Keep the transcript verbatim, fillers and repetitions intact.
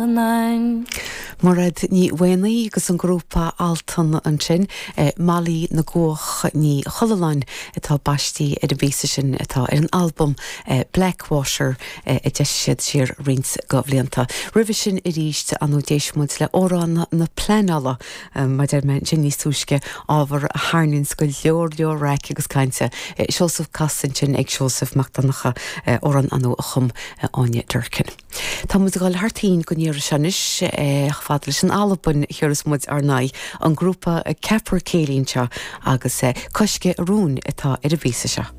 nine. Mairéad Ní Mhaonaigh agus an grúpa Altan ansin Molly na gCuach Ní Choileáin atá baiste ar an bpíosa sin atá ar an albam Blackwater a d'eisigh siad siar roinnt de bhlianta. Roimhe sin arís an d'éist muid le amhrán na pleanála mar a deir mé sin níos túisce ábhar a tharraingíonn go leor leor raic agus cainte. Seosamh casta sin ag Seosamh Mac Donncha amhrán ann a chum Áine Durkin. Tá muid ag dul thar toinn go n-iarraidh anois fad leis an Albain thiarras muid ar n-aghaidh an grúpa Capercaillie seo agus Coisce Rún atá ar an bpíosa seo.